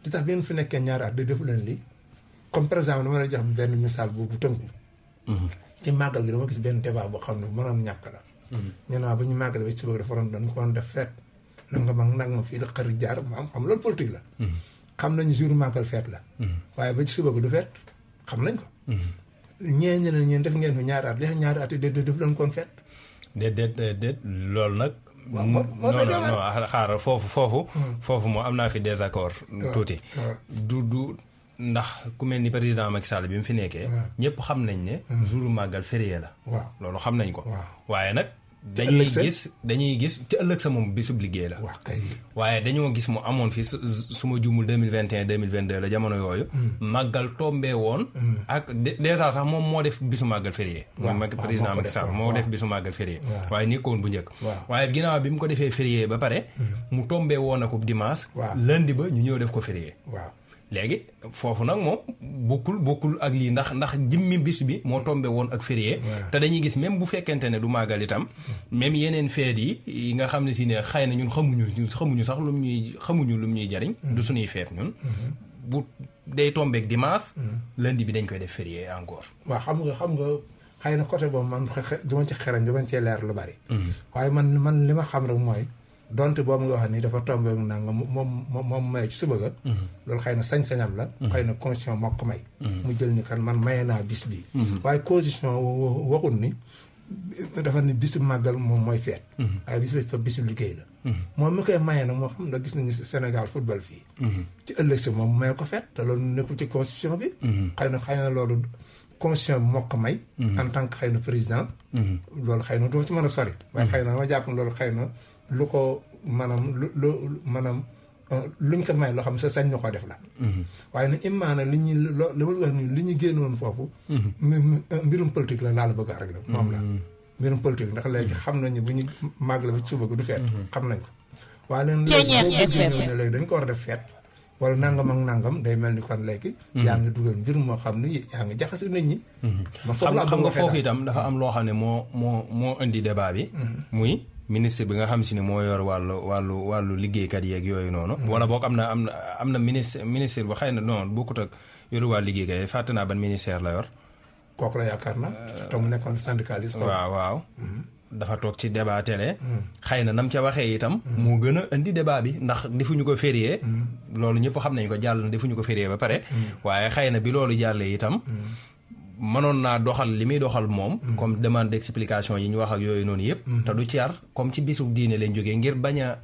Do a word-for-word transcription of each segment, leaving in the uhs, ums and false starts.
li tax bi ngeen fi nekkee ñaari at di def leen li comme par exemple dama lay jox benn misaal bu bu tënku. ci màggal gi dama gis benn débat boo xam ne mënoon ñàkk la. ñu naan ba ñu màggal ba ci suba dafa waroon dañ ko waroon def feet nanga ma nag ma fii la xarit jaar ma am xam loolu politique la. xam nañu jour màggal feet la. waaye ba ci suba gi du feet xam nañ ko. ñee ñeneen ñeen def ngeen fi ñaari at li ñaari at yi déedéet def leen koon feet. déedéet déedéet loolu nag. waaw moo moo non non xaaral foofu foofu. foofu moo am naa fi désaccord. tuuti du du ndax ku mel ni président Macky Sall bi mu fi nekkee. ñëpp xam nañ ne. jour màggal férié la. waaw loolu xam nañ ko. waaye nag. te dañuy ëllëg sa gis dañuy gis te ëllëg sa moom bisub liggéey la. waaw kay. waaye dañoo gis mu amoon fi su su ma juumul deux mille vingt et un deux mille vingt deux la jamono yooyu. màggal tombé woon. ak dèjà sax moom moo def bisu màggal férié. waaw mooy waaw président moo ko Macky def, Sall waaw, moo waaw. def bisu màggal férié. waaw. waaye nekkoon bu njëkk. waaw. waaye ginnaaw bi mu ko defee férié ba pare. mu tombé woon ak dimanche. waaw. lundi ba ñu ñëw def ko férié. waaw. léegi foofu nag moom bokkul bokkul ak lii ndax ndax jimmi bis bi moo tombé woon ak férié. waaw. te dañuy gis même bu fekkente ne du màggal itam même yeneen feet yi yi nga xam ne si ne xëy na ñun xamuñu ñun xamuñu sax lu mu ñuy xamuñu lu mu ñuy jariñ. du suñuy feet ñun. bu day tombeek dimanche. lundi bi dañ koy def férié encore. waaw xam nga xam nga xëy na côté boobu man xe du ma ci xerañ du ma cee leer lu bari. waaye man man li ma xam rek mooy donte boobu nga wax ni dafa tombé ak nangam moom moom moom may ci suba ga. loolu xëy na sañ-sañam la. xëy na constitution moo ko may. mu jël ni kan man maye naa bis bi. waaye constitution waxul ni dafa ni bisu màggal moom mooy feet. waaye bis bi bisu liggéey la. moom mi koy maye nag moo xam ne gis nañu Sénégal football fii. ci ëllëg si moom maye ko feet te loolu nekkul ci constitution bi. xëy na xëy na loolu constitution bi moo ko may. en tant que xëy na président. loolu xëy na doo ci mën a sori. waaye xëy na ma jàpp ne loolu xëy na lu ko maanaam lu lu maanaam luñ ko may loo xam ne sa sañ na koo def la. waaye nag imaana li ñuy loo li ma wax nii li ñu génnoon foofu. mbirum politique la laa la bëgg a régler moom la. mbirum politique ndax léegi xam nañu bu ñu màgg la ba ci suba du feet. xam nañ ko waaye nag léegi boo bëggee ñëw ne léegi dañ ko war a def feet. wala nangam ak nangam day mel ni kon léegi. yaa ngi dugal mbir moo xam ni yaa ngi jaxase nit ñi. ba foofu la xam nga foofu itam dafa am loo xam ne moo moo moo indi débat bi. muy ministre bi nga xam si ne moo yor wàllu wàllu wàllu liggéeykat yeeg yooyu noonu. wala boog am na am na am na ministre ministre bu xëy na non bokkut ak yoru wàllu liggéeykat yi fàtte naa ban ministère la yor. kooku la yaakaar na te mu nekkoon syndicaliste. waaw waaw. dafa toog ci débat télé. xëy na nam ca waxee itam. moo gën a indi débat bi ndax defuñu ko férié. loolu ñëpp xam nañ ko jàll na defuñu ko férié ba pare. waaye xëy na bi loolu jàllee itam. mënoon naa doxal li muy doxal moom. comme demande d'explication yi ñu wax ak yooyu noonu yëpp. te du ci yar comme ci bisu diine leen jógee ngir bañ a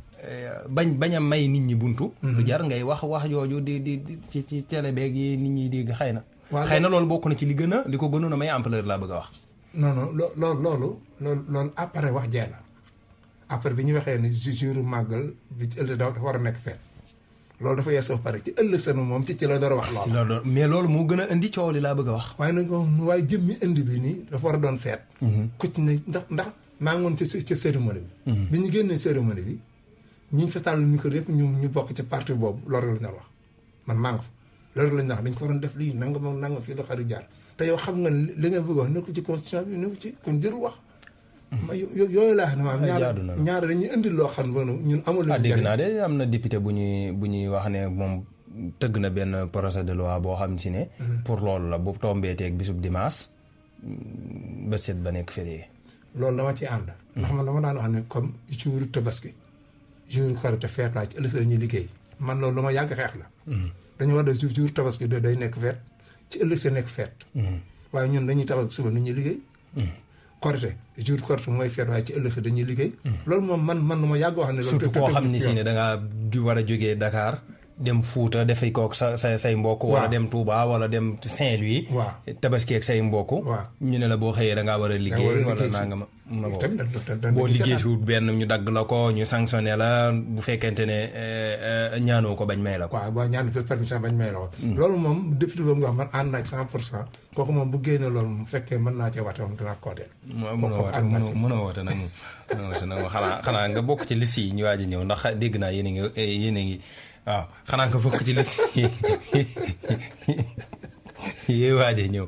bañ bañ a may nit ñi buntu. du jar ngay wax wax jooju di di ci ci télé beeg yi nit ñi di xëy na. xëy na loolu bokk na ci li gën a li ko gënoon a may ampleur laa bëgg a wax. non non loo loolu loolu loolu loolu après wax jee la après bi ñu waxee ni jour màggal bi ci ëllëg dafa war a nekk feet loolu dafa yeesoo pare ci ëllëg seen moom ci ci la door a wax ci la doon mais loolu moo gën a indi coow li laa bëgg a wax. waaye nag waaye jëmmi indi bi nii dafa war a doon feet ku ci ne ndax ndax maa ngi woon ci ci cérémonie bi bi ñu génnee cérémonie bi ñi ngi fa tàll micro yëpp ñu ñu bokk ci parti boobu loolu la ñu wax man maa ngi fa loolu la ñu wax dañ ko waroon def lii nanga moom nanga fii la xarit jaar te yow xam nga li nga bëgg wax nekkul ci constitution bi nekkul ci kon jërul wax. ma yooyu laa xam ne maanaam ñaar ñaar dañuy indil loo xam ne ñun amul. ah dégg naa de am na député bu ñuy bu ñuy wax ne moom tëgg na benn projet de loi boo xam si ne. pour loolu la bu tombee teeg bisub dimanche ba set ba nekk férié. loolu dama ci ànd. ndax man dama daan wax ne comme jour tabaski jour korite feet laa ci ëllëg dañuy liggéey man loolu lu ma yàgg xeex la. dañu war a def jour tabaski day nekk feet. ci ëllëg sa nekk feet waaye ñun dañuy tabax suba nit ñuy liggéey korite jour korite mooy feet waaye ci ëllëg sa dañuy liggéey loolu moom man man nu ma yàgg wax ne loolu surtout koo xam ni si ne dangaa war a jógee Dakar dem Fuuta dafay kook sa sa say mbokk wala dem Touba wala dem Saint-Louis tabaski ak say mbokk ñu ne la boo xëyee dangaa war a liggéey wala naa nga ma ma boo liggéey si wut benn ñu dagg la ko ñu sanctionné la bu fekkente ne ñaanoo ko bañ may la ko waaw boo ñaan fi permission bañ may la ko loolu moom député boobu nga wax man ànd naa ci cent pour cent kooku moom bu génne loolu mu fekkee mën naa cee wate moom dinaa kooteel mën a woote mën a woote nag moom mën a woote nag moom xanaa xanaa nga bokk ci liste yi ñu waaj a ñëw ndax dégg naa yéen a ngi yéen a ngi waaw xanaa nga bokk ci liste yi yéen waaj a ñëw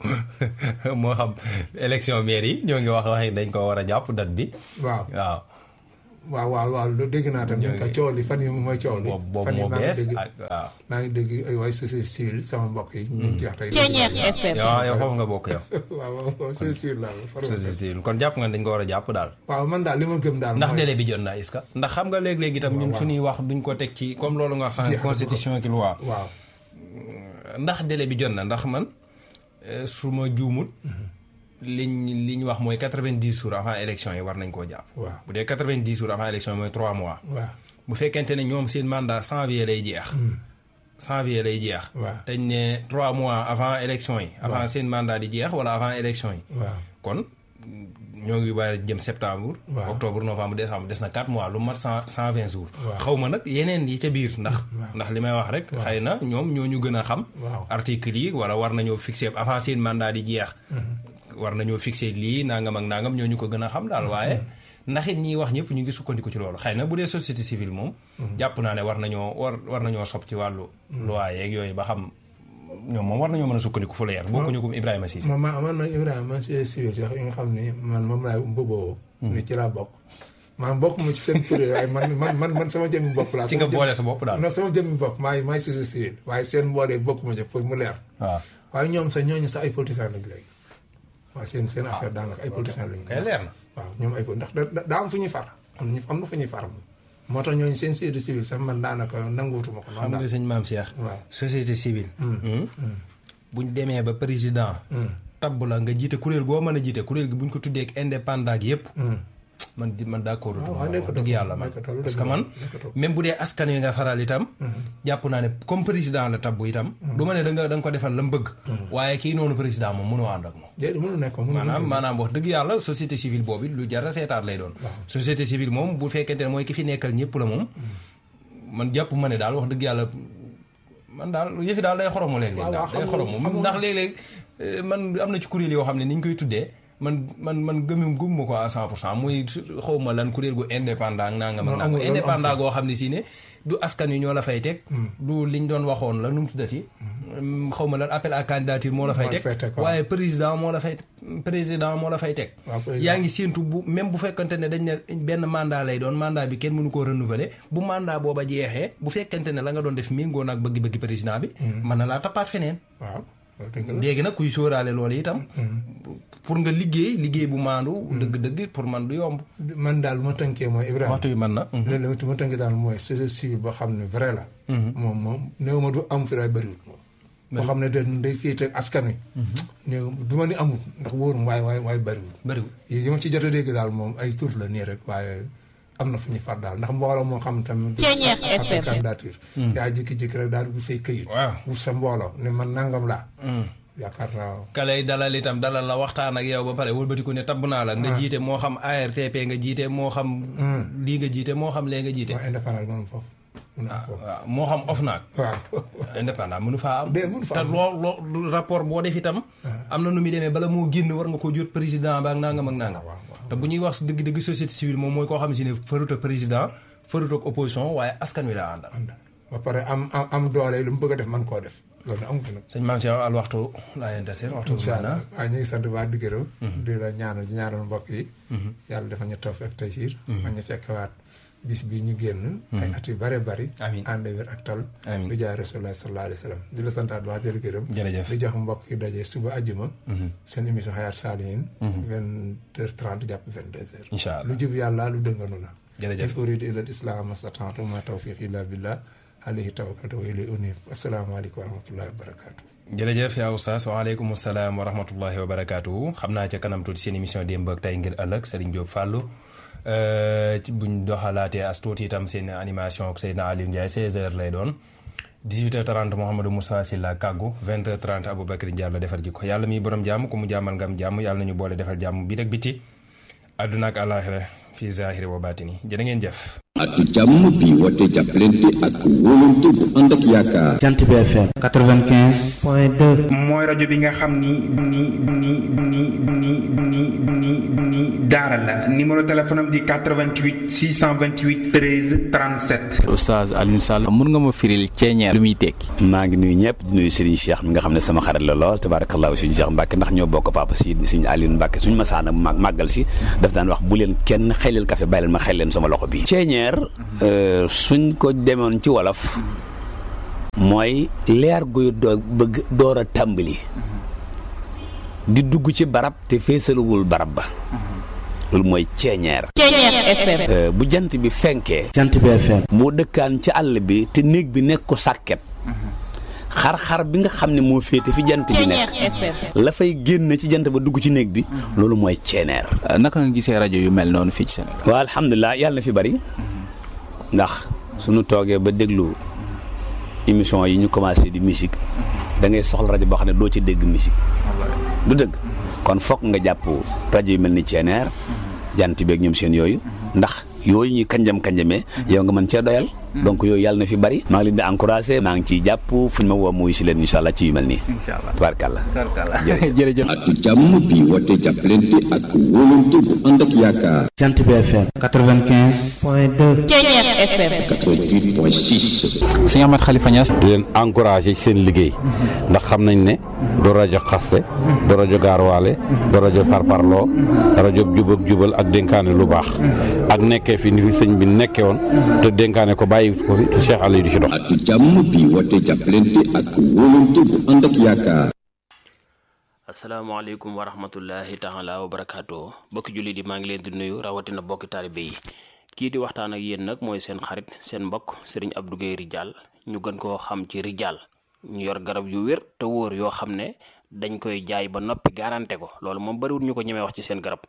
moo xam élection maire yi ñoo ngi wax wax dañ ko war a jàpp date bi waaw waaw waaw waaw waaw lu dégg naa tam ñu ko coow li fan yi mooy coow li boobu moo bees waaw maa ngi dégg ay waay société civile sama mbokk yi ñu ngi ci wax tey yow yow foofu nga bokk yow waaw waaw société civile laa société civile kon jàpp nga dañ ko war a jàpp daal waaw man daal li ma gëm daal ndax délai bi jot na est-ce que ndax xam nga léeg-léeg itam ñun suñuy wax duñ ko teg ci comme loolu nga wax sànq constitution ki loi waaw ndax délai bi jot na ndax man su ma juumut liñ li ñu wax mooy quatre-vingt-dix jours avant élection yi war nañ koo jàpp. waaw bu dee quatre-vingt-dix jours avant élection yi mooy trois mois. waaw bu fekkente ne ñoom seen mandat janvier lay jeex. janvier lay jeex. waaw te ñu ne trois mois avant élection yi. avant seen mandat di jeex wala avant élection yi. waaw kon ñoo ngi war a jëm septembre. waaw octobre novembre décembre des na quatre mois lu mat cent cent vingt jours. waaw xaw ma nag yeneen yi ca biir ndax. ndax li may wax rek. xëy na ñoom ñoo ñu gën a xam. waaw article yi wala war nañoo fixer avant seen mandat di jeex. war nañoo fixé lii nangam ak nangam ñoo ñu ko gën a xam daal waaye ndax it ñiy wax ñëpp ñu ngi sukkandiku ci loolu xëy na bu dee société civile moom. jàpp naa ne war nañoo war war nañoo sob ci wàllu. loi yeeg yooyu ba xam ñoom moom war nañoo mën a sukkandiku fu leer. bokkuñu ko Ibrahima Cissé. man man man nag Ibrahima man société civile sax yi nga xam ni man moom laay mboboo. ni ci laa bokk. man bokk ma ci seen kuréel waaye man man man man sama jëmmi bopp laa. ci nga boole sa bopp daal non sama jëmmi bopp maay maay société civile waaye seen mboolee bokk ma ci pour mu leer. waaw waaye ñoom sax ñooñu sax ay politiciens lañ léegi. waaw seen seen affaire daanaka ay politiciens lañu. kay leer na waaw ñoom ay ndax da daa am fu ñuy far am na am na fu ñuy far moom. moo tax ñooñu seen société civile sax man daanaka nanguutuma ko. xam nga sëñ Maam Cheikh. waaw société civile. buñ demee ba président. tabb la nga jiite kuréel goo mën a jiite kuréel gi buñ ko tuddee ak indépendant gi yëpp. man di man d'accord dëgg yàlla man parce que man même bu dee askan wi nga faral itam jàpp naa ne comme président la tabbu itam du ma ne da nga da nga ko defal la mu bëgg waaye kii noonu président moom mënoo ànd ak moom maanaam maanaam wax dëgg yàlla société civile boobu lu jar a seetaat lay doon société civile moom bu fekkente ne mooy ki fi nekkal ñëpp la moom man jàpp ma ne daal wax dëgg yàlla man daal yëfi daal day xoromu léeg-léeg daal day xoromu ndax léeg-léeg man am na ci kuréel yoo xam ne ni ñu koy tuddee man man man gëmum gëmuma ko à cent pour cent muy xaw ma lan kuréel gu indépendant ak nangam ak nangam indépendant goo xam ne si ne du askan wi ñoo la fay teg du liñ doon waxoon la nu mu tuddati xaw ma lan appel à candidature moo la fay teg waaye président moo la fay président moo la fay teg yaa ngi séentu bu même bu fekkante ne dañ ne benn mandat lay doon mandat bi kenn mënu koo renouveler bu mandat booba jeexee bu fekkante ne la nga doon def méngoo naag bëgg-bëgg président bi mën na laa tappaat feneen waaw léegi nag kuy sóoraale loolu itam pour nga liggéey liggéey bu maandu dëgg-dëgg pour man du yomb man daal ma tënkee mooy Ibrahima waxtu bi man na léegi ma tënkee daal mooy société civile boo xam ne vrai la moom moom néew ma du am fi day bëriwul moom boo xam ne da day féete askan wi néew du ma ni amul ndax wóorum waaye waaye waaye bëriwul bëriwul yi ma ci jot a dégg daal moom ay tur la nii rek waaye am na fu ñuy far daal ndax mbooloo moo xam tamit appel candidature yaa jékki-jékki rek daal di say këyit wut sa mbooloo ne man nangam laa yaakaar naa ka lay dalal itam dalal la waxtaan ak yow ba pare wëlbatiku ne tabb naa la nga jiite moo xam A R T P nga jiite moo xam lii nga jiite moo xam lee nga jiite indépendant mënu foofu waaw moo xam OFNAC waaw indépendant mënu faa am te loo loo rapport boo def itam am na nu muy demee bala moo génn war nga ko jot président ba ak nangam ak nangam te bu ñuy wax dëgg-dëgg société civile moom mooy koo xam si ne farut ak président farut ak opposition waaye askan wi la àndal ba pare am am doole lu mu bëgg a def man koo def loolu amu fi nag sëñ Mame Cheikh al waxtu laa yente seen waxtu incha allah waaw ñu ngi sant waa di gërëm di la ñaanal di ñaanal mbokk yi yàlla dafa ñu tawfiq ak taysiir ma ñu fekkewaat bis bi ñu génn ay at yu bare bari amiin ànd wér ak tal amiin lu jaay rasulullah sallallahu alayhi wa sallam di la santaat wax di la gërëm jërëjëf di jox mbokk yi daje suba àjjuma seen émission Hayatou Salihine vingt heures trente jàpp vingt deux heures incha allah lu jub yàlla lu dënganu la jërëjëf in uriidu illa al-islaaha mastata'tu ma tawfiqi illa billah alayhi tawakkaltu wa ilayhi unib asalaamaaleykum wa rahmatullahi wa barakaatu. jërëjëf yaa oustaz waaleykum salaam wa rahmatullahi wa barakaatu xam naa ca kanam tuuti seen émission démb ak tey ngir ëllëg Serigne Diop Fallou buñ doxalaatee as tuuti itam seen animation ak Seydina Aliou Ndiaye seize heures lay doon dix-huit heures trente Mouhamadou Moussa Sylla kàggu vingt heures trente Aboubacry Diallo defar jikko yàlla miy borom jàmm ku mu jàmmal ngam jàmm yàlla nañu boole defal jàmm bi ak biti àdduna ak àllaaxira fi zahiri wa baatini jërë ngeen jëf. atu jàmm bi woote jàppalante ak wóolante bu ànd ak yaakaar. Jant bi F M quatre-vingt-quinze point deux mooy rajo bi nga xam ni ni ni ni ni ni ni ni daara la numéro téléphone am di quatre-vingt-huit six cent vingt-huit treize trente-sept. Oustaz Alioune Sall mun nga ma firil ceeñeer lu muy tekki. maa ngi nuyu ñëpp di nuyu Serigne Cheikh mi nga xam ne sama xarit la lool tabarakallah Serigne Cheikh Mbacke ndax ñoo bokk papa si Serigne Alioune Mbacke suñu masaana mag màggal si daf daan wax bu leen kenn xelal café bàyyi leen ma xel leen sama loxo bi ceeñeer suñ ko demoon ci wolof mooy leer guy doo bëgg door a tàmbali di dugg ci barab te feesaluwul barab ba loolu mooy ceeñeer. ceeñeer bu jant bi fenkee. Jant bi F M. boo dëkkaan ci àll bi te néeg bi nekk ko sàkket xar-xar bi nga xam ne moo féete fi jant bi nekk la fay génn ci jant ba dugg ci néeg bi loolu mooy ceeñeer. naka nga gisee rajo yu mel noonu fii ci Sénégal. waaw alhamdulilah yàlla na fi bari ndax suñu toogee ba déglu émission yi ñu commencé di musique da ngay soxla rajo boo xam ne doo ci dégg musique du dëgg kon fokk nga jàpp rajo yu mel ni ceeñeer jant beeg ñoom seen yooyu ndax yooyu ñuy kanjam kanjamee yow nga mën cee doyal donc yooyu yàlla na fi bari maa ngi leen di encouragé maa ngi ciy jàpp fu ñu ma woo muy si leen incha allah ci yu mel nii. incha allah tubaarkàlla. tubaarkàlla jërëjëf. atu jàmm bi woote jàppalante ak wóolante bu ànd ak yaakaar. Jant bi F M quatre-vingt-quinze point deux quatre-vingt-huit point six. sëñ Ahmed Khalifa Niass. di leen encouragé seen liggéey ndax xam nañ ne du rajo xaste du rajo gaarwaale du rajo parparloo rajo jubak jubal ak dénkaane lu baax ak nekkee fi ni fi sëñ bi nekkee woon te dénkaane ko bàyyi ko fi te Cheikh Aliou di ci dox. atu jàmm bi woote jàppalante ak wóolante bu ànd ak yaakaar. asalaamaaleykum wa rahmatullahi taala wa barakaatu bokki jullit yi maa ngi leen di nuyu rawatina bokki taalibe yi kii di waxtaan ak yéen nag mooy seen xarit seen mbokk Serigne Abdou Guèye Ridial ñu gën koo xam ci Ridial ñu yor garab yu wér te wóor yoo xam ne dañ koy jaay ba noppi garanté ko loolu moom bariwul ñu ko ñemee wax ci seen garab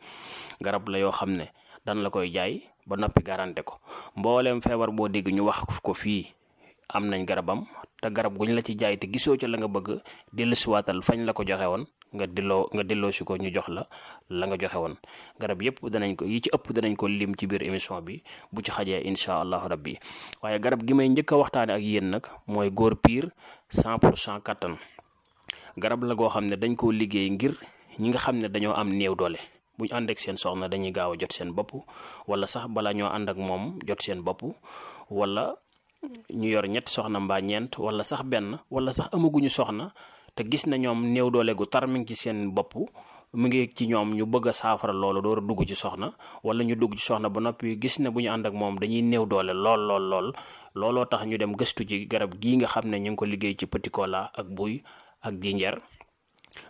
garab la yoo xam ne dan la koy jaay ba noppi garanté ko mbooleem feebar boo dégg ñu wax ko fii am nañ garabam te garab guñ la ci jaay te gisoo ca la nga bëgg dellusiwaatal fañ la ko joxe woon nga delloo nga delloo si ko ñu jox la la nga joxe woon garab yëpp danañ ko yi ci ëpp danañ ko lim ci biir émission bi bu ci xajee incha allahu rabbi waaye garab gi may njëkk a waxtaane ak yéen nag mooy góor piir cent pour cent kattan garab la goo xam ne dañ koo liggéey ngir ñi nga xam ne dañoo am néew doole bu ñu ànd ak seen soxna dañuy gaaw a jot seen bopp wala sax bala ñoo ànd ak moom jot seen bopp wala ñu yor ñetti soxna mbaa ñeent wala sax benn wala sax amaguñu soxna te gis na ñoom néew doole gu tar mi ngi ci seen bopp mu ngi ci ñoom ñu bëgg a saafara loolu door a dugg ci soxna wala ñu dugg ci soxna ba noppi gis ne bu ñu ànd ak moom dañuy néew doole lool lool lool looloo tax ñu dem gëstu ci garab gii nga xam ne ñu ngi ko liggéey ci petit cola ak buy ak jinjeer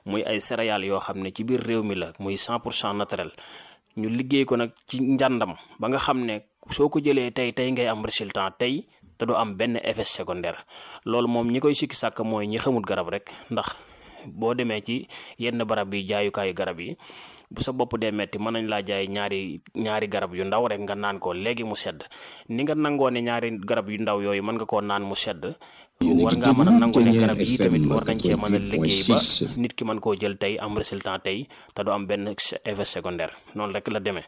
muy ay céréales yoo xam ne ci biir réew mi la muy cent pour cent naturel ñu liggéey ko nag ci njàndam ba nga xam ne soo ko jëlee tey tey ngay am résultat tey te du am benn effet secondaire loolu moom ñi koy sikki sàkk mooy ñi xamul garab rek ndax boo demee ci yenn barab yi jaayukaayu garab yi bu sa bopp dee metti mën nañ laa jaay ñaari ñaari garab yu ndaw rek nga naan ko léegi mu sedd ni nga nangoo ne ñaari garab yu ndaw yooyu mën nga koo naan mu sedd war ngaa mën a nangoo ne garab yi tamit war nañ cee mën a liggéey ba nit ki mën koo jël tey am résultat tey te du am benn effet secondaire noonu rek la demee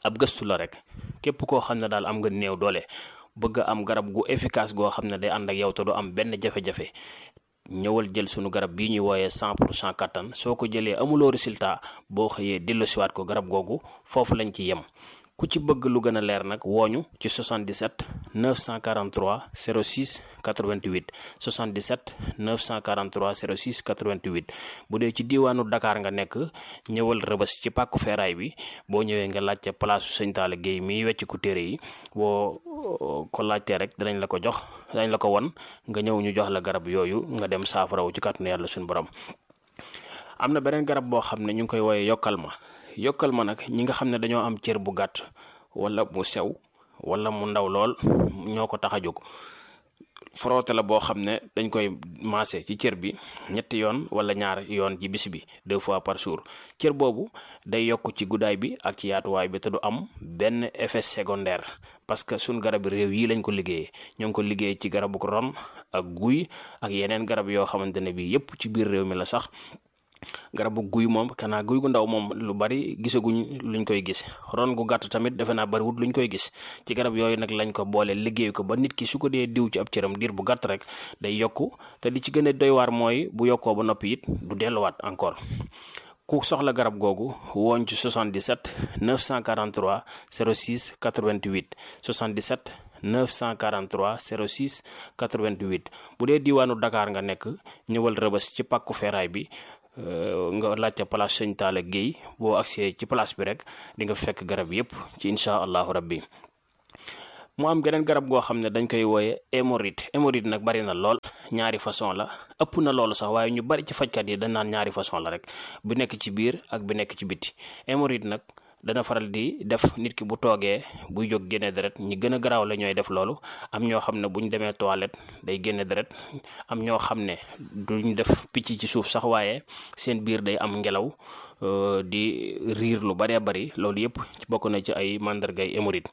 ab gëstu la rek képp koo xam ne daal am nga néew doole bëgg am garab gu efficace goo xam ne day ànd ak yow te du am benn jafe-jafe ñëwal jël sunu garab bii ñuy wooyee cent pour cent kattan soo ko jëlee amuloo résultat boo xëyee delloosiwaat ko garab googu foofu lañ ci yem ku ci bëgg lu gën a leer nag wooñu ci soixante-dix-sept neuf cent quarante-trois zéro six quatre-vingt-huit soixante-dix-sept neuf cent quarante-trois zéro six quatre-vingt-huit bu dee ci diiwaanu Dakar nga nekk ñëwal Rëbës ci pàkku feeraay bi boo ñëwee nga laajte place su Sëñ Talla Guèye miy wecc ku téere yi boo ko laajtee rek danañ la ko jox danañ la ko won nga ñëw ñu jox la garab yooyu nga dem saafarawu ci kàttanu yàlla suñu borom. am na beneen garab boo xam ne ñu ngi koy wooyee yokkal ma yokkal ma nag ñi nga xam ne dañoo am cër bu gàtt wala mu sew wala mu ndaw lool ñoo ko tax a jóg frotté la boo xam ne dañ koy maase ci cër bi ñetti yoon wala ñaar yoon ci bis bi deux fois par jour cër boobu day yokk ci guddaay bi ak ci yaatuwaay bi te du am benn effet secondaire parce que suñ garab réew yi lañ ko liggéeyee ñoo ngi ko liggéey ci garabu ron ak guy ak yeneen garab yoo xamante ne bii yépp ci biir réew mi la sax garabu guy moom kanaa guy gu ndaw moom lu bari gisaguñ luñ koy gis ron gu gàtt tamit defe naa bariwut luñ koy gis ci garab yooyu nag lañ ko boole liggéey ko ba nit ki su ko dee diw ci ab cëram diir bu gàtt rek day yokku te li ci gën a doy waar mooy bu yokkoo ba noppi it du delluwaat encore ku soxla garab googu woon ci soixante-dix-sept neuf cent quarante-trois zéro six quatre-vingt-huit soixante-dix-sept neuf cent quarante-trois zéro six quatre-vingt-huit bu dee diwaanu Dakar nga nekk ñëwal Rëbës ci pàkku feeraay bi nga laajte place Sëñ Talla Guèye boo agsee ci place bi rek di nga fekk garab yépp ci incha allahu rabbi mu am geneen garab goo xam ne dañ koy wooye hémorroïde hémorroïde nag bari na lool ñaari façon la ëpp na loolu sax waaye ñu bari ci fajkat yi dañ naan ñaari façon la rek bu nekk ci biir ak bi nekk ci biti hémorroïde nag dana faral di def nit ki bu toogee buy jóg génne deret ñi gën a garaaw la ñooy def loolu am ñoo xam ne bu ñu demee toilette day génne deret am ñoo xam ne duñ def picc ci suuf sax waaye seen biir day am ngelaw di riir lu baree bari loolu yëpp bokk na ci ay màndargay hémorroïde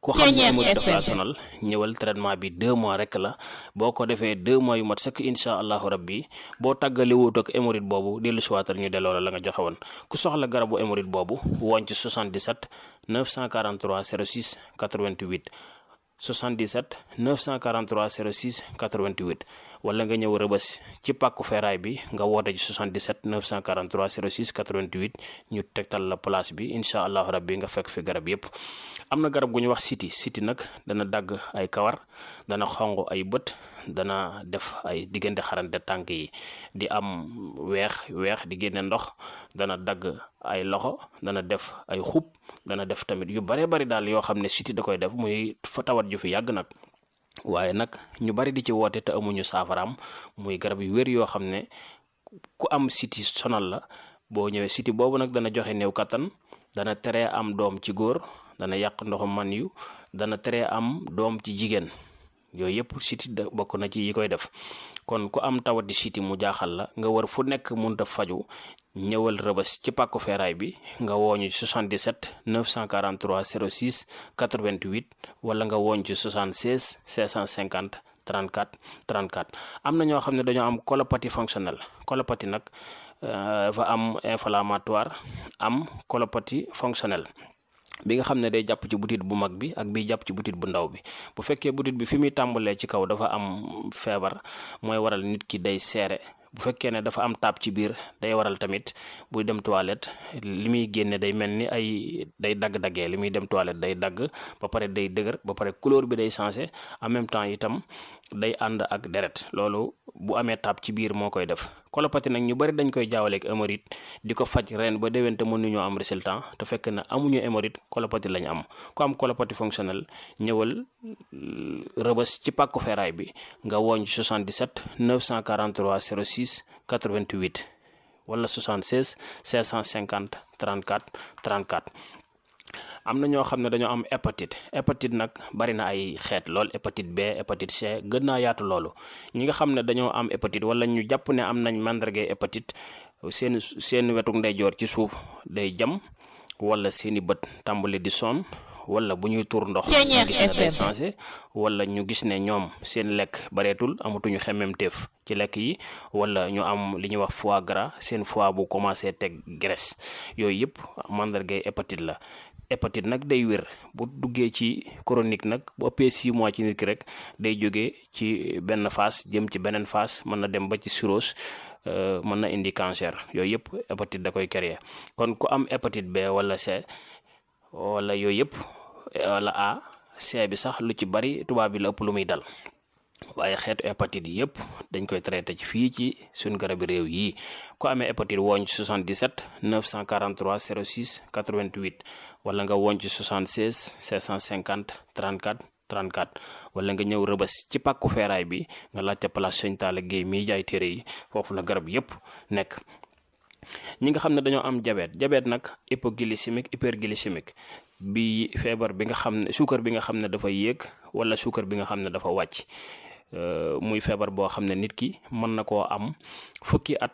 ku xam ne hémorroïde dafa la sonal ñëwal traitement bi deux mois rek la boo ko defee deux mois yu mat sëkk incha allahu rabbi boo tàggale wut ak hémorroïde boobu dellu siwaatal ñu delloo la la nga joxe woon ku soxla garabu hémorroïde boobu woon ci soixante-dix-sept neuf cent quarante-trois zéro six quatre-vingt-huit soixante-dix-sept neuf cent quarante-trois zéro six quatre-vingt-huit wala nga ñëw Rëbës ci pàkku feeraay bi nga woote ci soixante-dix-sept neuf cent quarante-trois zéro six quatre-vingt-huit ñu tegtal la place bi incha allahu rabbi nga fekk fi garab yépp am na garab gu ñu wax siti siti nag dana dagg ay kawar dana xonq ay bët dana def ay diggante xarante tànk yi di am weex weex di génne ndox dana dagg ay loxo dana def ay xub dana def tamit yu bare bari daal yoo xam ne siti da koy def muy fa tawat ju fi yàgg nag waaye nag ñu bari di ci woote te amuñu saafaraam muy garab yu wér yoo xam ne ku am siti sonal la boo ñëwee siti boobu nag dana joxe néew kattan dana teree am doom ci góor dana yàq ndoxu man yu dana teree am doom ci jigéen yooyu yëpp siti da bokk na ci yi koy def kon ku am tawati siti mu jaaxal la nga war fu nekk munta faju ñëwal Rëbës ci pàkku feeraay bi nga wooñu ci soixante-dix-sept neuf cent quarante-trois zéro six quatre-vingt-huit wala nga wooñ ci soixante-seize cinq cent cinquante trente-quatre trente-quatre am na ñoo xam ne dañoo am colopathie fonctionnelle colopathie nag dafa am inflammatoire am colopathie fonctionnelle bi nga xam ne day jàpp ci butit bu mag bi ak bi jàpp ci butit bu ndaw bi bu fekkee butit bi fi muy tàmbalee ci kaw dafa am feebar mooy waral nit ki day seere bu fekkee ne dafa am taab ci biir day waral tamit buy dem toilette li muy génne day mel ni ay day dagg-daggee li muy dem toilette day dagg ba pare day dëgër ba pare couleur bi day changé en même temps itam day ànd ak deret loolu bu amee taab ci biir moo koy def colopathie nag ñu bari dañ koy jaawaleeg hémorroïde di ko faj ren ba déwén te mënuñoo am résultat te fekk na amuñu hémorroïde colopathie lañ am ku am colopathie fonctionnelle ñëwal Rëbës ci pàkku feeraay bi nga wooñ soixante-dix-sept neuf cent quarante-trois zéro six quatre-vingt-huit wala soixante-seize cinq cent cinquante trente-quatre trente-quatre am na ñoo xam ne dañoo am hépatite hépatite nag bari na ay xeet lool hépatite B hépatite C gën naa yaatu loolu ñi nga xam ne dañoo am hépatite wala ñu jàpp ne am nañ màndargay hépatite seen seen wetuk ndeyjoor ci suuf day jam wala seeni bët tàmbali di sonn wala bu ñuy tuur ndox ñu gis ne day changé wala ñu gis ne ñoom seen lekk bareetul amatuñu xemmemteef ci lekk yi wala ñu am li ñuy wax foie gras seen foie bu commencé teg graisse yooyu yëpp màndargay hépatite la hépatite nag day wér bu duggee ci chronique nag bu ëppee six mois ci nit ki rek day jógee ci benn phase jëm ci beneen phase mën na dem ba ci cirrhose mën na indi cancer yooyu yëpp hépatite da koy créer kon ku am hépatite B wala C wala yooyu yëpp wala A C bi sax lu ci bari tubaab bi la ëpp lu muy dal waaye xeetu hépatite yi yëpp dañ koy traité ci fii ci suñ garabi réew yi ku amee hépatite wooñ ci soixante-dix-sept neuf cent quarante-trois zéro six quatre-vingt-huit wala nga wooñ ci soixante-seize cinq cent cinquante trente-quatre trente-quatre wala nga ñëw Rëbës ci pàkku feeraay bi nga laajte place Sëñ Talla Guèye miy jaay téere yi foofu la garab yëpp nekk ñi nga xam ne dañoo am diabète diabète nag hypoglycémique hyperglycémique bi feebar bi nga xam ne suukar bi nga xam ne dafa yéeg wala suukar bi nga xam ne dafa wàcc muy feebar boo xam ne nit ki mën na koo am fukki at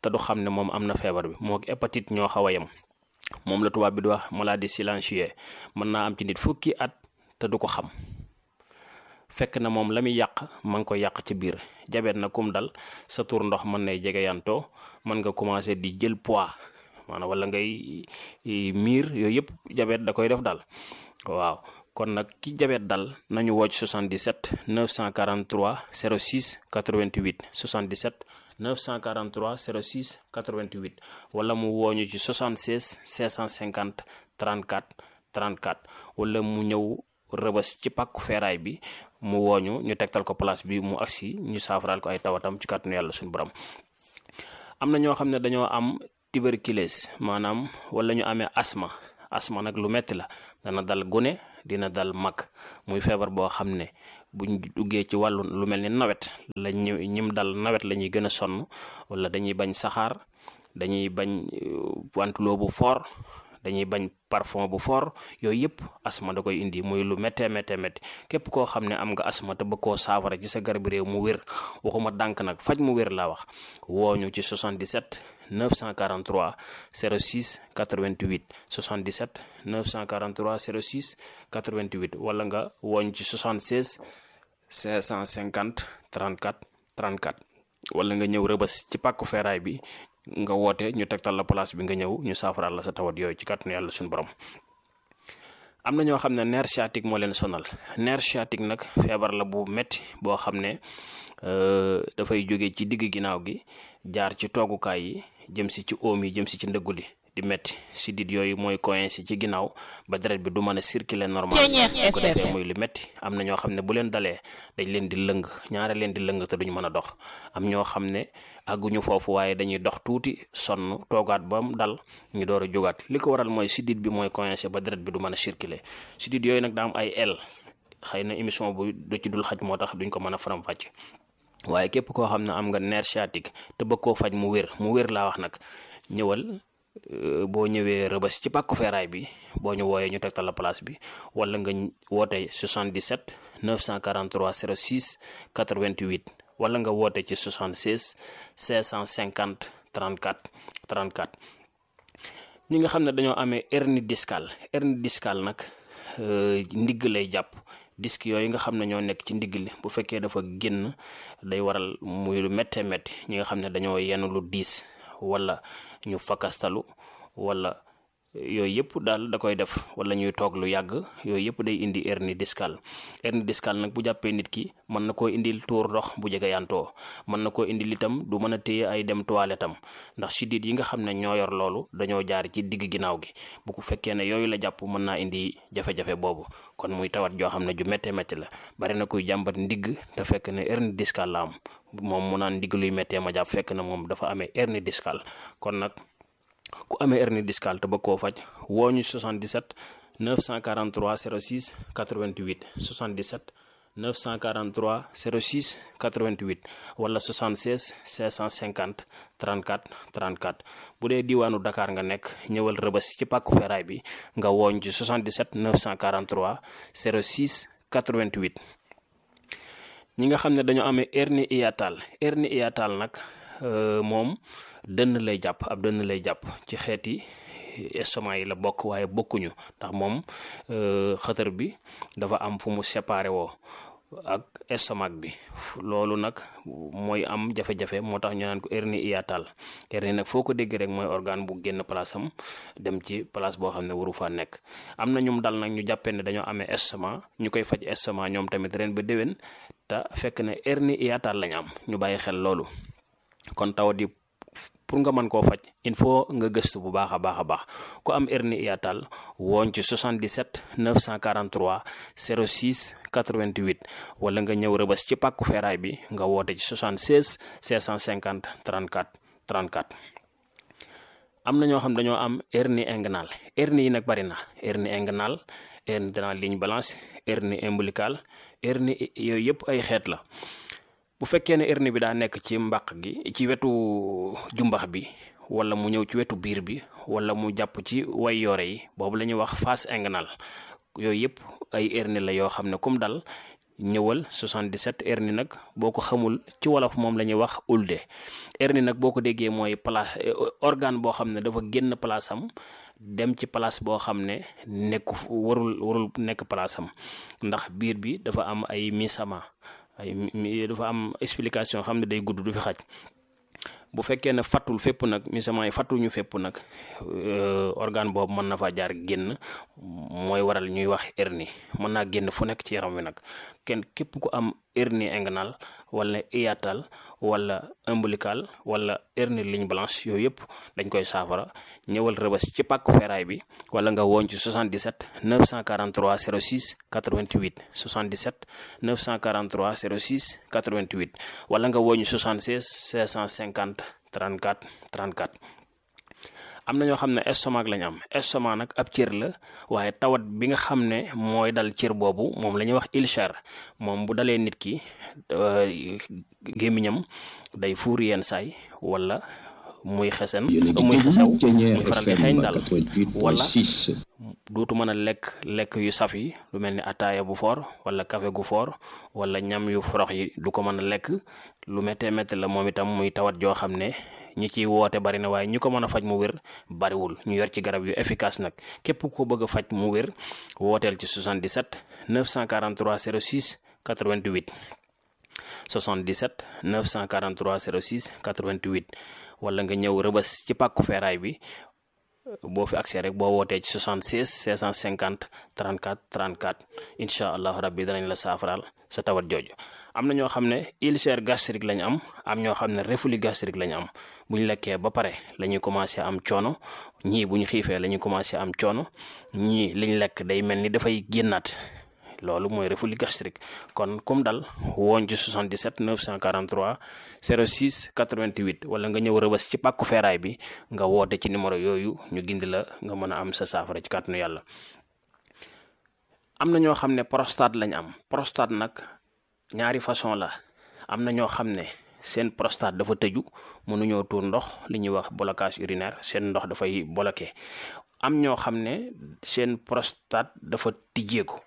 te du xam ne moom am na feebar bi moo hépatite ñoo xaw a yem moom la tubaab bi di wax maladie silencieuse mën naa am ci nit fukki at te du ko xam fekk na moom la muy yàq ma ngi ko yàq ci biir. jabet na kum dal sa tur ndox mën nay jege yantoo mën nga commencé di jël poids maanaam wala ngay miir yooyu yëpp jabet da koy def daal waaw. kon nag ki jabet dal nañu woo ci soixante-dix-sept neuf cent quarante-trois zéro six quatre-vingt-huit soixante-dix-sept neuf cent quarante-trois zéro six quatre-vingt-huit wala mu wooñu ci soixante-seize cinq cent cinquante trente-quatre trente-quatre wala mu ñëw rëbës ci pàkku feeraay bi mu wooñu ñu tegtal ko place bi mu agsi ñu saafaraal ko ay tawatam ci kàttanu yàlla suñu borom. am na ñoo xam ne dañoo am tuberculose maanaam wala ñu amee asma asma nag lu metti la dana dal gune dina dal mag muy feebar boo xam ne buñ duggee ci wàllu lu mel ni nawet la ñu ñim dal nawet la ñuy gën a sonn wala dañuy bañ saxaar dañuy bañ wantuloo bu fort dañuy bañ parfum bu fort yooyu yëpp asma da koy indi muy lu méttee méttee métti képp koo xam ne am nga asma te bëgg koo saafara ci sa garab réew mu wér waxuma dànk nag faj mu wér laa wax wooñu ci soixante-dix-sept neuf cent quarante-trois zéro six quatre-vingt-huit soixante-dix-sept neuf cent quarante-trois zéro six quatre-vingt-huit wala nga wooñ ci soixante-seize cinq cent cinquante trente-quatre trente-quatre wala nga ñëw rëbës ci pàkku feeraay bi nga woote ñu tegtal la place bi nga ñëw ñu saafaraal la sa tawat yooyu ci kàttanu yàlla suñu borom. am na ñoo xam ne nerf sciatique moo leen sonal nerf sciatique nag feebar la bu metti boo xam ne dafay jóge ci digg ginnaaw gi jaar ci toogukaay yi jëm si ci oom yi jëm si ci ndëggu li di metti sidit yooyu mooy coincé ci ginnaaw ba deret bi du mën a circuler normal bu ko defee muy lu metti am na ñoo xam ne bu leen dalee dañ leen di lëng ñaare leen di lëng te duñ mën a dox am ñoo xam ne àgguñu foofu waaye dañuy dox tuuti sonn toogaat ba mu dal ñu door a jógaat li ko waral mooy sidit bi mooy coincé ba deret bi du mën a circuler sidit yooyu nag daa am ay el xëy na émission bu du ci dul xaj moo tax duñ ko mën a faram fàcce waaye képp koo xam ne am nga nerf sciatique te bëgg koo faj mu wér mu wér laa wax nag ñëwal boo ñëwee rëbës ci pàkku feeraay bi boo ñu wooyee ñu tegtal la place bi wala nga woote soixante-dix-sept neuf cent quarante-trois zéro six quatre-vingt-huit wala nga woote ci soixante-seize cinq cent cinquante trente-quatre trente-quatre. ñi nga xam ne dañoo amee hernie discale hernie discale nag ndigg lay jàpp disque yooyu nga xam ne ñoo nekk ci ndigg li bu fekkee dafa génn day waral muy lu méttee métti ñi nga xam ne dañoo yenn lu diis wala ñu fakastalu wala yooyu yëpp daal da koy def wala ñuy toog lu yàgg yooyu yëpp day indi hernie discale hernie discale nag bu jàppee nit ki mën na koo indil tuur ndox bu jege yantoo mën na koo indil itam du mën a téye ay dem toilette am ndax sidit yi nga xam ne ñoo yor loolu dañoo jaar ci digg ginnaaw gi bu ko fekkee ne yooyu la jàpp mën naa indi jafe-jafe boobu kon muy tawat joo xam ne ju méttee métti la bari na kuy jàmbat ndigg te fekk ne hernie discale la am moom mu naan ndigg luy méttee ma jàpp fekk na moom dafa amee hernie discale kon nag ku amee hernie discale te bëgg koo faj woo ñu soixante-dix-sept neuf cent quarante-trois zéro six quatre-vingt-huit soixante-dix-sept neuf cent quarante-trois zéro six quatre-vingt-huit wala soixante-seize cinq cent cinquante trente-quatre trente-quatre bu dee diwaanu Dakar nga nekk ñëwal rëbës ci pàkku feeraay bi nga wooñ ci soixante-dix-sept neuf cent quarante-trois zéro six quatre-vingt-huit. ñi nga xam ne dañoo amee hernie hiatale hernie hiatale nag moom dënn lay jàpp ab dënn lay jàpp ci xeeti estomac yi la bokk waaye bokkuñu ndax moom xëtër bi dafa am fu mu séparé woo ak estomac bi loolu nag mooy am jafe-jafe moo tax ñu naan ko hernie hiatale hernie nag foo ko dégg rek mooy organe bu génn place am dem ci place boo xam ne waru faa nekk. am na ñum dal nag ñu jàppee ne dañoo amee estomac ñu koy faj estomac ñoom tamit ren ba déwén te fekk ne hernie hiatale lañ am ñu bàyyi xel loolu. kon tawat yi pour nga mën koo faj il faut nga gëstu bu baax a baax a baax ku am hernie hiatale wooñ ci soixante-dix-sept neuf cent quarante-trois zéro six quatre-vingt-huit wala nga ñëw rëbës ci pàkku feeraay bi nga woote ci soixante-seize cinq cent cinquante trente-quatre trente-quatre. am na ñoo xam dañoo am hernie inguinale hernie yi nag bari na hernie inguinale hernie de la ligne blanche hernie ombilicale hernie yooyu yëpp ay xeet la. bu fekkee ne hernie bi daa nekk ci mbàq gi ci wetu jumbax bi wala mu ñëw ci wetu biir bi wala mu jàpp ci way yoore yi boobu la ñuy wax face inguinale yooyu yëpp ay hernie la yoo xam ne comme dal ñëwal soixante-dix-sept hernie nag boo ko xamul ci wolof moom la ñuy wax ulde. hernie nag boo ko déggee mooy place organe boo xam ne dafa génn place am dem ci place boo xam ne nekku warul warul nekk place am ndax biir bi dafa am ay misama ay dafa am explication xam ne day gudd du fi xaj. bu fekkee ne fattul fépp nag misament yi fattuñu fépp nag organe boobu mën na fa jaar génn mooy waral ñuy wax hernie mën naa génn fu nekk ci yaram wi nag kenn képp ku am hernie inguinale wala hiatale wala ombilical wala hernie ligne blanche yooyu yëpp dañ koy saafara ñëwal Rëbës ci pàkku feeraay bi wala nga woon ci soixante-dix-sept neuf cent quarante-trois zéro six quatre-vingt-huit soixante-dix-sept neuf cent quarante-trois zéro six quatre-vingt-huit wala nga woon ci soixante-seize cinq cent cinquante trente-quatre trente-quatre. am na ñoo xam ne estomac lañ am estomac nag ab cër la waaye tawat bi nga xam ne mooy dal cër boobu moom la ñuy wax ulcère moom bu dalee nit ki gémmiñam day fuur yenn saay wala muy xesen muy xesaw muy faral di xeeñ daal wala dootu mën a lekk lekk yu saf yi lu mel ni ataaya bu foor wala café gu foor wala ñam yu forox yi du ko mën a lekk lu méttee métti la moom itam muy tawat joo xam ne ñi ciy woote bari na waaye ñi ko mën a faj mu wér bariwul ñu yor ci garab yu efficace nag képp ko bëgg a faj mu wér wooteel ci soixante-dix-sept neuf cent quarante-trois zéro six quatre-vingt-huit soixante-dix-sept neuf cent quarante-trois zéro six quatre-vingt-huit wala nga ñëw Rëbës ci pàkku feeraay bi boo fi accès rek boo wootee ci soixante-seize cinq cent cinquante trente-quatre trente-quatre incha allahu rabbi danañ la saafaraal sa tawat jooju. am na ñoo xam ne ulcère gastrique lañ am am ñoo xam ne reflux gastrique lañ am bu ñu lekkee ba pare la ñuy commencé am coono ñii bu ñu xiifee la ñuy commencé am coono ñii liñ lekk day mel ni dafay génnaat. loolu mooy reflux gastrique kon comme dal woon ci soixante-dix-sept neuf cent quarante-trois zéro six quatre-vingt-huit wala nga ñëw Rëbës ci pàkku feeraay bi nga woote ci numéro yooyu ñu gindi la nga mën a am sa saafara ci kàttanu yàlla. am na ñoo xam ne prostate lañ am prostate nag ñaari façon la am na ñoo xam ne seen prostate dafa tëju mënuñoo tuur ndox li ñuy wax blocage urinaire seen ndox dafay bloqué am ñoo xam ne seen prostate dafa tijjeeku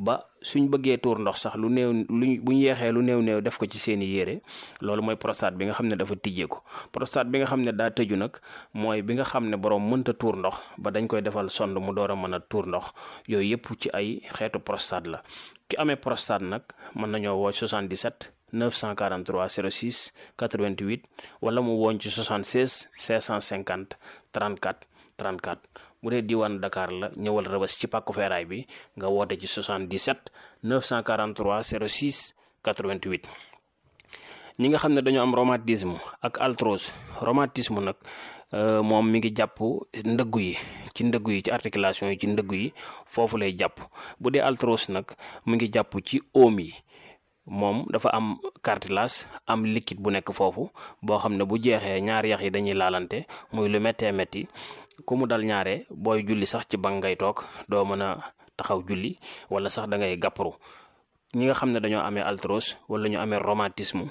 ba suñ bëggee tuur ndox sax lu néew luñ bu ñu yeexee lu néew néew def ko ci seeni yére loolu mooy prostate bi nga xam ne dafa tijjeeku prostate bi nga xam ne daa tëju nag mooy bi nga xam ne borom mënta tuur ndox ba dañ koy defal sonde mu door a mën a tuur ndox yooyu yëpp ci ay xeetu prostate la ki amee prostate nag mën nañoo woo soixante-dix-sept neuf cent quarante-trois zéro six quatre-vingt-huit wala mu woon ci soixante-seize cinq cent cinquante trente-quatre trente-quatre bu dee diwaan Dakar la ñëwal Rëbës ci pàkku feeraay bi nga woote ci soixante-dix-sept neuf cent quarante-trois zéro six quatre-vingt-huit. ñi nga xam ne dañoo am rhumatisme ak arthrose rhumatisme nag moom mi ngi jàpp ndëggu yi ci ndëggu yi ci articulation yi ci ndëggu yi foofu lay jàpp bu dee arthrose nag mi ngi jàpp ci oom yi moom dafa am cartilage am liquide bu nekk foofu boo xam ne bu jeexee ñaari yax yi dañuy laalante muy lu méttee métti ku mu dal ñaare booy julli sax ci bank ngay toog doo mën a taxaw julli wala sax da ngay gàpparu ñi nga xam ne dañoo amee arthrose wala ñu amee rhumatisme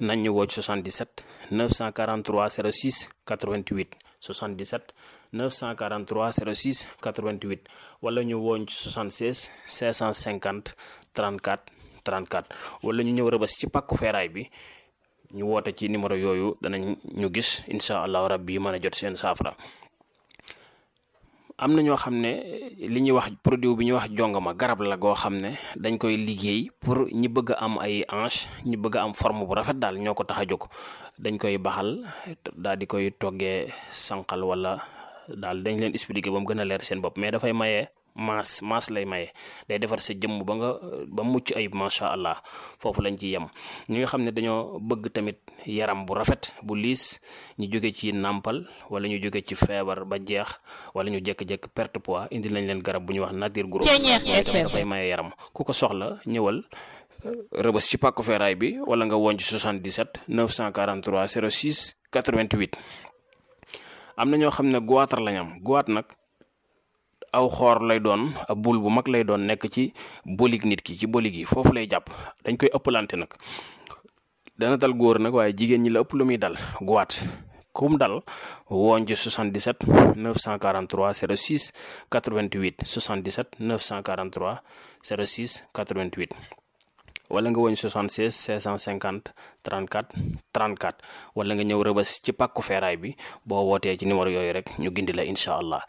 nañ ñu woo ci soixante-dix-sept neuf cent quarante-trois zéro six quatre-vingt-huit soixante-dix-sept neuf cent quarante-trois zéro six quatre-vingt-huit wala ñu woo ci soixante-seize cinq cent cinquante trente-quatre trente-quatre wala ñu ñëw Rëbës ci pàkku feeraay bi ñu woote ci numéro yooyu danañ ñu gis incha allahu rabbi mën a jot seen saafara. am na ñoo xam ne li ñuy wax produit bi ñuy wax jongama garab la goo xam ne dañ koy liggéey pour ñi bëgg a am ay hanche ñi bëgg a am forme bu rafet daal ñoo ko tax a jóg dañ koy baxal daal di koy toggee sànqal wala daal dañ leen expliquer ba mu gën a leer seen bopp mais dafay maye maas maas lay maye day defar sa jëmm ba nga ba mucc ayib macha allah foofu lañ ci yem. ñi nga xam ne dañoo bëgg tamit yaram bu rafet bu liis ñu jóge ci nàmpal wala ñu jóge ci feebar ba jeex wala ñu jékki-jékki perte poids indi lañ leen garab bu ñuy wax nature gros mooy tamit dafay maye yaram ku ko soxla ñëwal Rëbës ci pàkku feeraay bi wala nga woon ci soixante-dix-sept neuf cent quarante-trois zéro six quatre-vingt-huit. am na ñoo xam ne goitre lañ am goitre nag aw xoor lay doon ab bul bu mag lay doon nekk ci bolig nit ki ci bolig yi foofu lay jàpp dañ koy ëppalante nag dana dal góor nag waaye jigéen ñi la ëpp lu muy dal goitre kum dal woon ci soixante-dix-sept neuf cent quarante-trois zéro six quatre-vingt-huit soixante-dix-sept neuf cent quarante-trois zéro six quatre-vingt-huit wala nga woñ soixante-seize cinq cent cinquante trente-quatre trente-quatre wala nga ñëw Rëbës ci pàkku feeraay bi boo wootee ci numéro yooyu rek ñu gindi la incha allah.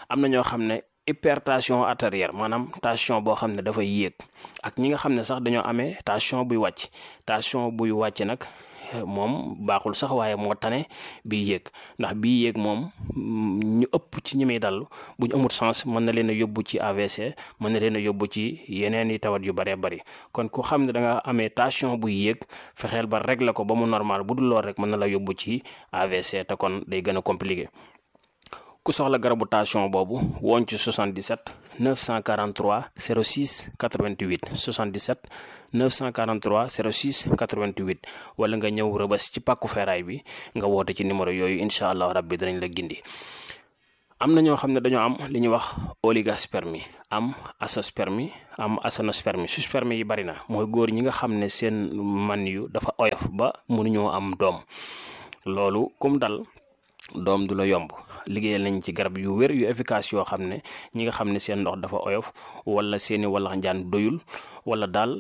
am na ñoo xam ne hypertension artérielle maanaam tension boo xam ne dafay yéeg ak ñi nga xam ne sax dañoo amee tension buy wàcc tension buy wàcc nag moom baaxul sax waaye moo tane bii yéeg ndax bii yéeg moom ñu ëpp ci ñi muy dal bu ñu amul sens mën na leen a yóbbu ci A V C mën na leen a yóbbu ci yeneen i tawat yu bëree bëri kon ku xam ne da nga amee tension buy yéeg fexeel ba régler ko ba mu normal bu dul lool rek mën na la yóbbu ci A V C te kon day gën a compliqué. ku soxla garabu tension boobu woon ci soixante-dix-sept neuf cent quarante-trois zéro six quatre-vingt-huit soixante-dix-sept neuf cent quarante-trois zéro six quatre-vingt-huit wala nga ñëw Rëbës ci pàkku feeraay bi nga woote ci numéro yooyu incha allah rabbi danañ la gindi. am na ñoo xam ne dañoo am li ñuy wax oligospermie am azoospermie am aténospermie sperme yi bari na mooy góor ñi nga xam ne seen man yu dafa oyof ba mënuñoo am doom loolu kum dal doom du la yomb. liggéeyal nañ ci garab yu wér yu efficace yoo xam ne ñi nga xam ne seen ndox dafa oyof wala seeni wallax njaan doyul wala daal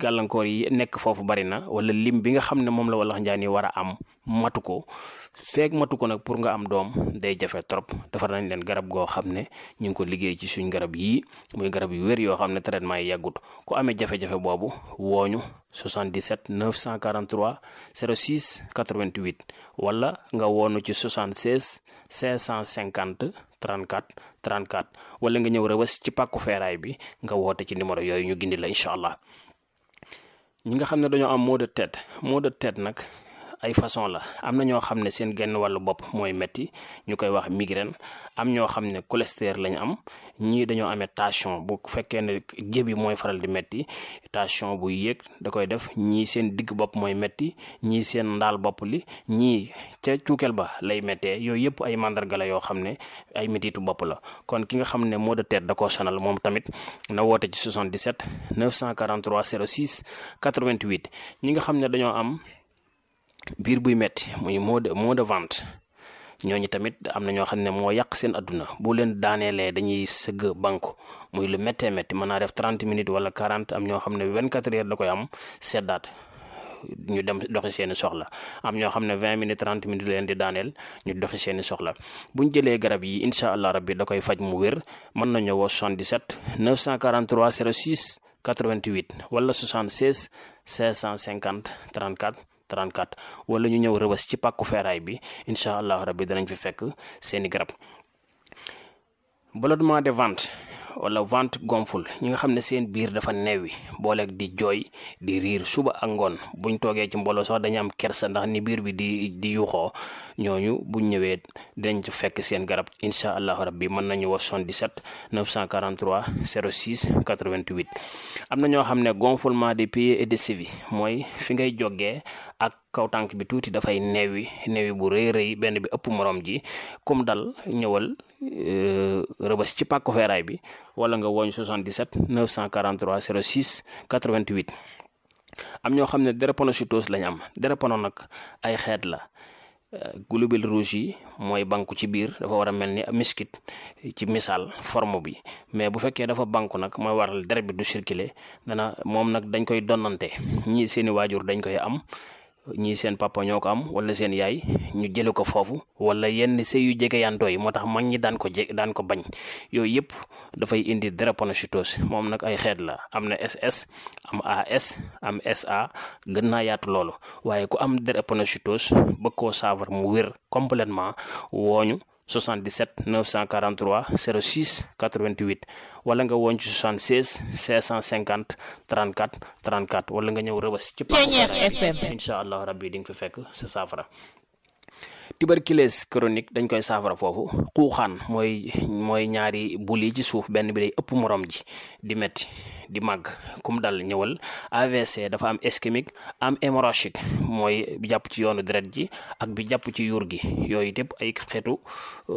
gàllankoor yi nekk foofu bari na wala lim bi nga xam ne moom la wallax njaan yi war a am matu ko feeg matu ko nag pour nga am doom day jafe trop defar nañ leen garab goo xam ne ñu ngi ko liggéey ci suñ garab yii muy garab yu wér yoo xam ne traitement yi yàggut ku amee jafe-jafe boobu wooñu soixante-dix-sept neuf cent quarante-trois zéro six quatre-vingt-huit wala nga woonu ci soixante-seize cinq cent cinquante trente-quatre trente-quatre wala nga ñëw Rëbës ci pàkku feeraay bi nga woote ci numéro yooyu ñu gindi la incha allah. ñi nga xam ne dañoo am maux de tête maux de tête nag ay façon la am na ñoo xam ne seen genn wàllu bopp mooy metti ñu koy wax migraine am ñoo xam ne cholestérol lañ am ñii dañoo amee tension bu fekkee ne jëbi mooy faral di metti tension buy yéeg da koy def ñii seen digg bopp mooy metti ñii seen ndaal bopp li ñii ca cuukeel ba lay méttee yooyu yëpp ay mandarga la yoo xam ne ay métitu bopp la kon ki nga xam ne maux de tête da koo sonal moom tamit na woote ci soixante-dix-sept neuf cent quarante-trois zéro six quatre-vingt-huit ñi nga xam ne dañoo am biir buy metti muy maux de maux de ventre ñooñu tamit am na ñoo xam ne moo yàq seen adduna bu leen daaneelee dañuy sëgg banku muy lu méttee métti mën naa def trente minutes wala quarante am ñoo xam ne vingt-quatre heures da koy am seddaat ñu dem doxi seeni soxla am ñoo xam ne vingt minutes trente minutes leen di daaneel ñu doxi seeni soxla buñ jëlee garab yi incha allah rabbi da koy faj mu wér mën nañu woo soixante-dix-sept neuf cent quarante-trois zéro six quatre-vingt-huit wala soixante-seize cinq cent cinquante trente-quatre trente-quatre wala ñu ñëw Rëbës ci pàkku feeraay bi incha allah rabbi danañ fi fekk seeni garab. ballonnement de ventre wala ventre gonfle ñi nga xam ne seen biir dafa neewi booleeg di jooy di riir suba ak ngoon buñ toogee ci mbooloo sax dañu am kersa ndax ni biir bi di di yuuxoo ñooñu buñ ñëwee dinañ ci fekk seen garab incha allahu rabbi mën nañu wax soixante-dix-sept neuf cent quarante-trois zéro six quatre-vingt-huit. am na ñoo xam ne gonflement des pieds et des chevilles mooy fi ngay jógee ak kaw tànk bi tuuti dafay neewi neewi bu rëy rëy benn bi ëpp morom ji comme dal ñëwal Rëbës ci pàkku feeraay bi wala nga woñ soixante-dix-sept neuf cent quarante-trois zéro six quatre-vingt-huit. am ñoo xam ne drépanocytose lañ am drépano nag ay xeet la globules rouges yi mooy banku ci biir dafa war a mel ni miskit ci misaal forme bi mais bu fekkee dafa banku nag mooy waral deret bi du circuler dana moom nag dañ koy donnante ñii seeni waajur dañ koy am ñii seen papa ñoo ko am wala seen yaay ñu jële ko foofu wala yenn sëy yu jege yantoo yi moo tax mag ñi daan ko je daan ko bañ yooyu yëpp dafay indi drépanocytose moom nag ay xeet la am na S S am A S am S A gën naa yaatu loolu waaye ku am drépanocytose bëgg koo saafara mu wér complètement wooñu soixante-dix-sept neuf cent quarante-trois zéro six quatre-vingt-huit wala nga woon ci soixante-seize cinq cent cinquante trente-quatre trente-quatre wala nga ñëw Rëbës ci pàkku feeraay incha allah rabbi di nga fi fekk sa saafara. tuberculose chronique dañ koy saafara foofu xuuxaan mooy mooy ñaari bul yi ci suuf benn bi day ëpp morom ji di metti di màgg kum dal ñëwal. A V C dafa am ischémique am hémorragique mooy bi jàpp ci yoonu deret ji ak bi jàpp ci yuur gi yooyu yëpp ay xeetu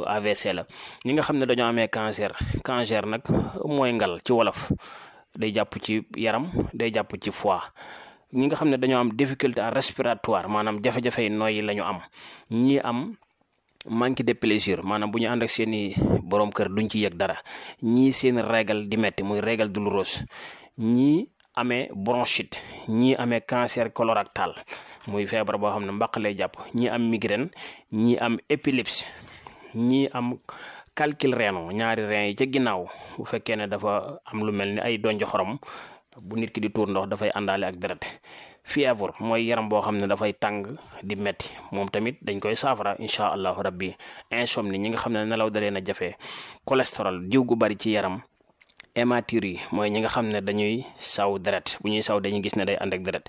A V C la. ñi nga xam ne dañoo amee cancer cancer nag mooy ngal ci wolof day jàpp ci yaram day jàpp ci foie ñi nga xam ne dañoo am difficulté respiratoire maanaam jafe-jafe nooyi la ñu am ñi am manque de plaisir maanaam bu ñu ànd ak seen i borom kër duñ ci yëg dara ñii seen régal di metti muy régal douloureuse ñii amee bronchite ñii amee cancer colorectal muy feebar boo xam ne mbaq lay jàpp ñii am migraine ñii am épilepsie ñii am calcul rénal ñaari rein yi ca ginnaaw bu fekkee ne dafa am lu mel ni ay donj xorom bu nit ki di tuur ndox dafay àndaale ak deret fièvre mooy yaram boo xam ne dafay tàng di metti moom tamit dañ koy saafara incha allahu rabbi insomnie ñi nga xam ne nelaw dalee na jafe cholestérol diw gu bari ci yaram hématurie yi mooy ñi nga xam ne dañuy saw deret bu ñuy saw dañuy gis ne day ànd ak deret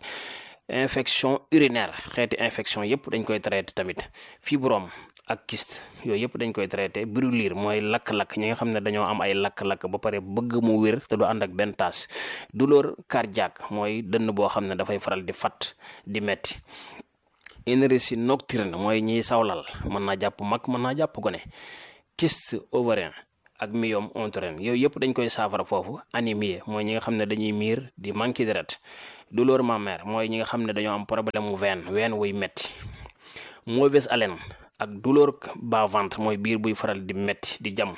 infection urinaire xeeti infection yëpp dañ koy traité tamit fibrome ak kyste yooyu yëpp dañ koy traité brûlure mooy lakk-lakk ñi nga xam ne dañoo am ay lakk-lakk ba pare bëgg mu wér te du ànd ak benn taas douleur cardiaque mooy dënn boo xam ne dafay faral di fat di metti énergie nocturne mooy ñiy sawlal mën naa jàpp mag mën naa jàpp gone kyste ovarien ak myome utérin yooyu yëpp dañ koy saafara foofu anémie mooy ñi nga xam ne dañuy miir di manqué deret douleur mammaire mooy ñi nga xam ne dañoo am problème mu veine veine wuy metti mauvaise haleine ak douleur bas ventre mooy biir buy faral di metti di jam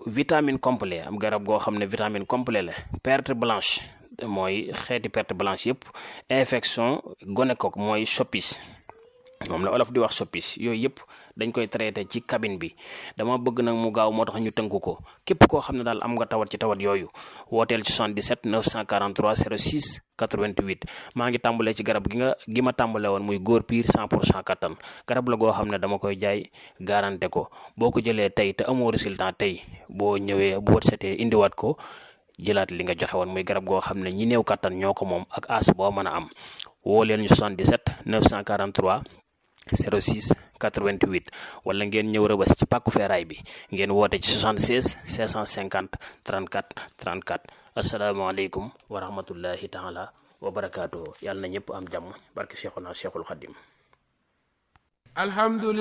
vitamine complet am garab goo xam ne vitamine complet la perte blanche mooy xeeti perte blanche yëpp infection gonocoque mooy soppis moom la olof di wax soppis yooyu yëpp dañ koy traité ci cabine bi dama bëgg nag mu gaaw moo tax ñu tënk ko képp koo xam ne daal am nga tawat ci tawat yooyu wooteel ci soixante-dix-sept neuf cent quarante-trois zéro six quatre-vingt-huit maa ngi tàmbalee ci garab gi nga gi ma tàmbale woon muy góor piir cent pour cent kattan garab la goo xam ne dama koy jaay garanté ko boo ko jëlee tey te amoo résultat tey boo ñëwee boo setee indiwaat ko jëlaat li nga joxe woon muy garab goo xam ne ñi néew kattan ñoo ko moom ak as boo mën a am woo leen ñu soixante-dix-sept neuf cent quarante-trois zéro six quatre-vingt-huit wala ngeen ñëw Rëbës ci pàkku feeraay bi ngeen woote ci soixante-seize cinq cent cinquante trente-quatre trente-quatre asalaamaaleykum wa rahmatullahi taala wa barakaatuhu yàlla na ñëpp am jàmm barke Cheikhuna Cheikhul Khadim alhamdulillah